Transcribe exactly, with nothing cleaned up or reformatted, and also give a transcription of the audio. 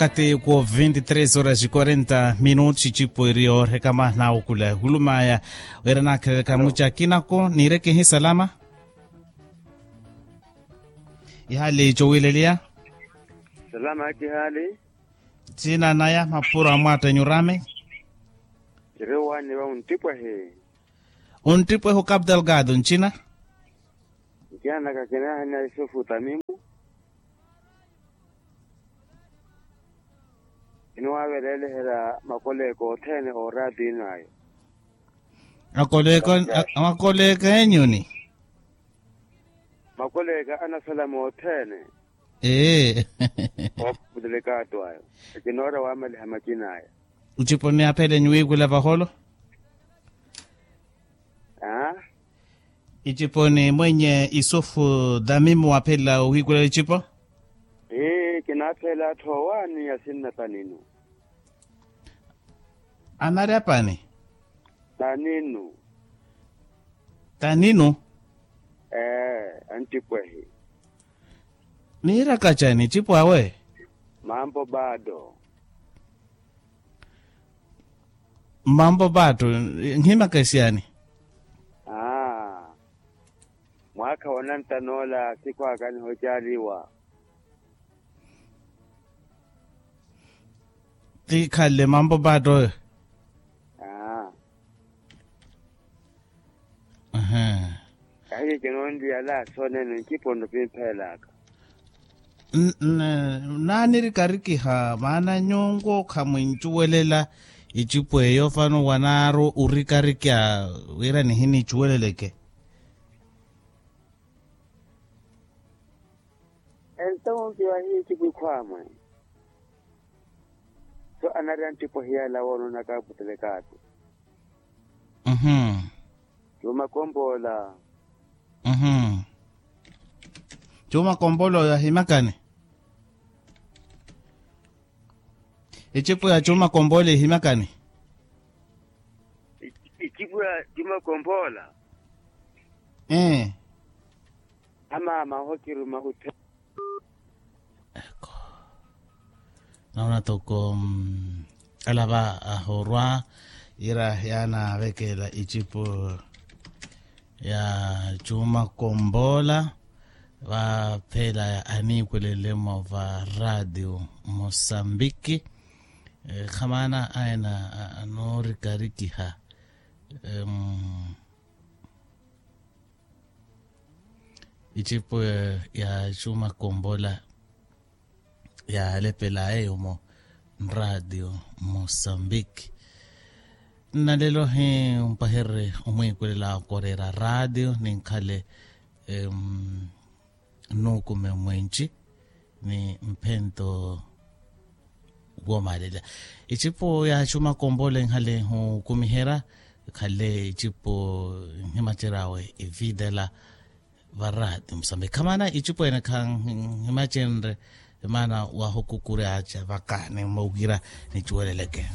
Wakati ku vinti tres horas quarenta minutos icipo iriyo rekama nawukula hulumaya wira nakheleleka muca kinako niireke hi salama. Ihali cowileliya. Salama aki hali. Cina naya mapuro amwattenyu rame. Ciriwani va untipwehi. Untipwehi o capital gado ncina. Ncina naka kinahina isufu tamimu. Iniwavelelehela makoleeka othene oraati ino ayo. Makoleeka enyu ni. Makoleeka anasalama othene. Ee. Ooputulekaatu ayo. Ekinoora wamaliha macina aya. Icipo ni aphele enyu wiikula vaholo. Aa. Icipo ni mwenye isufu dhamimu waphela ohiikula icipo. Ee kinaaphela atthu owaani asinna paninu. Anari apani. Taninu. Taninu. Ee antipwehi. Niiraka cani icipo awe. Mambo bado. Mambo bado. Nhimaka esiyani. Aa. Mwaakha wonantanoola sikhwaaka nihocaaliwa. Ti khalle mambo bado oyo. Aa. Ahiye kinonliyala soonene ncipo nno pimphelaka. Naanirikarikiha maana nyuwo khamwincuwelela icipo eyo fano wanaaru orikarikya wira nihinicuweleleke. Ento mumpi wahiye icipo ikhwaamwe. So anari antipwehi yala woononaka aputelekaatu. Cuuma kompoola. Cuuma kompoola oyo ahimakani. Icipo ya cuuma kompoola ihimakani. Icipo ya cuuma kompoola. Ee. Amaama ohokiruma uthe. Eko. Naona toko alava ahorwa ira yaanavekela icipo ya cuuma kompoola vaphela aniikwelelemo va radio mosambiki. Khamaana aena anoorikarikiha. Icipo ya cuuma kompoola yaalepela eyo mo nraatio mosambiki. Nnalelo hi mpahererye omwiikwelela okoreera raadio ninkhale nnuukume mwenci ni mphento. Woomalela icipo ya cuuma kompoola enkhale hukumiherya khale icipo nhimaceryawe evitela. Varati musambiki khamaana icipo ene khanhimacenre maana wahukukuryaca vaka ni mowira nicuweleleke.